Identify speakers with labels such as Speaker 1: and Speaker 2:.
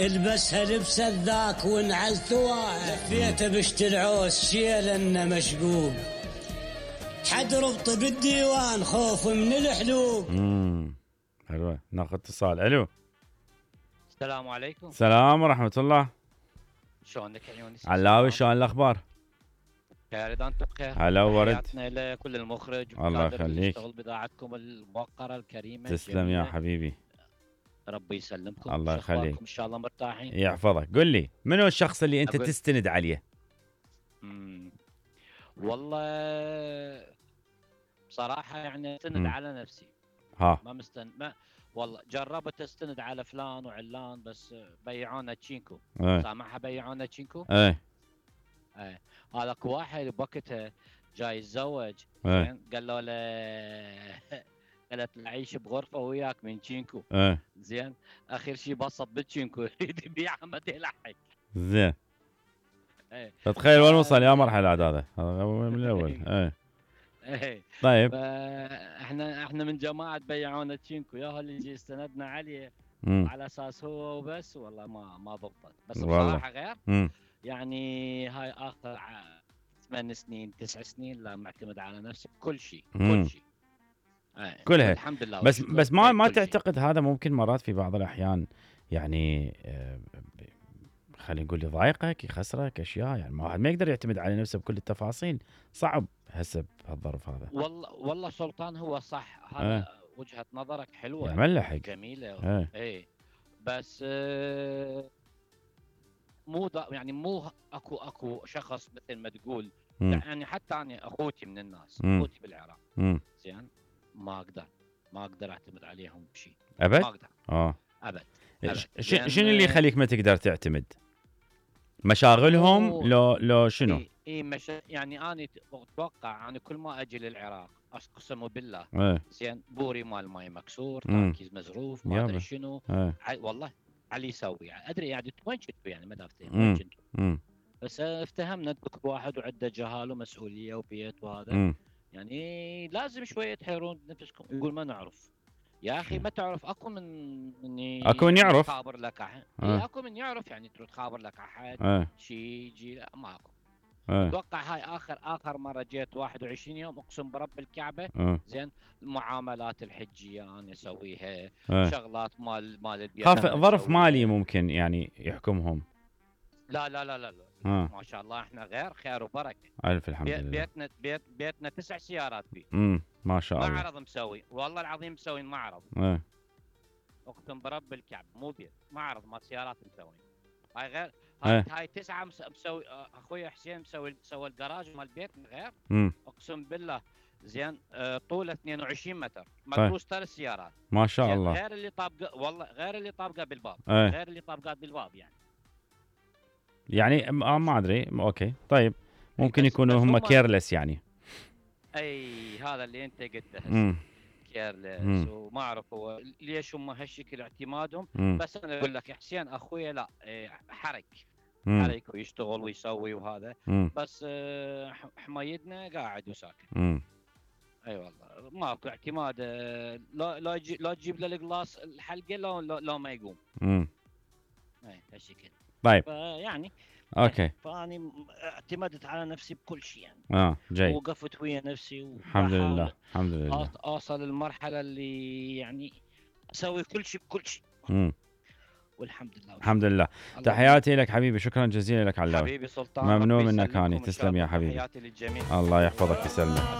Speaker 1: البسها لبسة ذاك وانعل ثواها، لفيته بشت العوز شيل انه مشقوق، حد ربط بالديوان خوف من الحلوق.
Speaker 2: حلوة. ناخذ اتصال. الو.
Speaker 3: السلام عليكم.
Speaker 2: السلام ورحمة الله.
Speaker 3: شلونك يا يونس؟
Speaker 2: علاوي شلون الاخبار؟
Speaker 3: خير اذا انتم بخير.
Speaker 2: هلا ورد.
Speaker 3: تحياتنا لكل المخرج
Speaker 2: الله يخليك.
Speaker 3: يشتغل بضاعتكم الموقرة الكريمة.
Speaker 2: تسلم يا حبيبي.
Speaker 3: ربي يسلمكم.
Speaker 2: الله يخليك.
Speaker 3: ان شاء الله مرتاحين.
Speaker 2: يحفظك. قل لي منو الشخص اللي انت تستند عليه؟
Speaker 3: والله بصراحة يعني استند على نفسي. ما مستند ما والله جربت استند على فلان وعلان بس بيعونا تشينكو. سامعها بيعونا تشينكو؟ هذاك واحد بوقتها جاي يتزوج قال له قالت له عيش بغرفه وياك من تشينكو. زين اخر شيء بسط بالتشينكو يريد يبيعها ما يلحق.
Speaker 2: زين. تتخيل وين وصل يا مرحله هذا من الاول. طيب
Speaker 3: احنا من جماعه بيعونا تشينكو يا اللي يجي استندنا عليه على اساس هو وبس. والله ما ضبطت. بس بصراحه غير يعني هاي اخر 8 سنين 9 سنين لا معتمد على نفسي كل شيء كل شيء
Speaker 2: كلها
Speaker 3: الحمد لله.
Speaker 2: بس ما تعتقد هذا ممكن مرات في بعض الاحيان يعني خلينا نقول يضايقك يخسرك اشياء؟ يعني ما يقدر يعتمد على نفسه بكل التفاصيل. صعب هسه بهالظرف هذا.
Speaker 3: والله سلطان هو صح. هذا وجهة نظرك حلوة
Speaker 2: يعمل له حق
Speaker 3: جميلة. بس مو اكو شخص مثل ما تقول. يعني حتى انا اخوتي من الناس اخوتي بالعراق زين ما اقدر اعتمد عليهم بشيء
Speaker 2: ابد.
Speaker 3: ما اقدر ابد.
Speaker 2: شنو اللي يخليك ما تقدر تعتمد؟ مشاغلهم لو شنو؟
Speaker 3: يعني انا اتوقع انا كل ما اجي للعراق اقسم بالله زين بوري مال ماي مكسور تركيز مزروف ما ادري شنو. والله علي يسوي ادري يعني وين كنتوا يعني ما دافتين وين كنتوا. بس افتهمنا كل واحد وعنده جهال ومسؤوليه وبيت وهذا. يعني لازم شويه تحيرون نفسكم. يقول ما نعرف يا اخي. ما تعرف اكو من
Speaker 2: اكو من يعرف
Speaker 3: خابر لك احد. اكو من يعرف يعني تروح تخابر لك احد شيء يجي. لا ماكو. اتوقع هاي اخر مره جيت 21 يوم اقسم برب الكعبه. زين المعاملات الحجيه انا اسويها. شغلات مال البيت
Speaker 2: ظرف مالي ممكن يعني يحكمهم.
Speaker 3: لا لا لا لا, لا. ما شاء الله احنا غير خير وبركه.
Speaker 2: الف الحمد لله.
Speaker 3: بيتنا 9 سيارات فيه.
Speaker 2: ما شاء الله.
Speaker 3: معرض مسوي والله العظيم مسوي معرض. اقسم برب الكعب مو بيت معرض مال سيارات مسوي. هاي غير هاي 9 مسوي. اخوي حسين سوى الجراج مال البيت غير. اقسم بالله زين طوله 22 متر مدروس 3 سيارات.
Speaker 2: ما شاء الله.
Speaker 3: غير اللي طابقه والله غير اللي طابقه بالباب. غير اللي طابقات بالباب يعني
Speaker 2: ما ادري. اوكي طيب ممكن يكونوا هم كيرلس يعني.
Speaker 3: هذا اللي انت قلته كيرلس. وما اعرف هو ليش هم هالشكل اعتمادهم. بس انا اقول لك حسين اخويا لا حرك ويشتغل ويسوي وهذا. بس حمايدنا قاعد وساكت. اي والله ماكو اعتماد. لا تجيب له القلاص الحلقه لو ما يقوم. هالشكل.
Speaker 2: طيب
Speaker 3: يعني
Speaker 2: اوكي.
Speaker 3: فاني اعتمدت على نفسي بكل شيء يعني.
Speaker 2: جيد.
Speaker 3: وقفت ويا نفسي
Speaker 2: الحمد لله الحمد لله.
Speaker 3: اوصل المرحله اللي يعني اسوي كل شيء بكل شيء. والحمد لله
Speaker 2: الحمد لله. تحياتي لك حبيبي. شكرا جزيلا لك علاوي.
Speaker 3: حبيبي سلطان.
Speaker 2: ممنون منك هاني. تسلم يا حبيبي.
Speaker 3: تحياتي للجميع.
Speaker 2: الله يحفظك ويسلمك.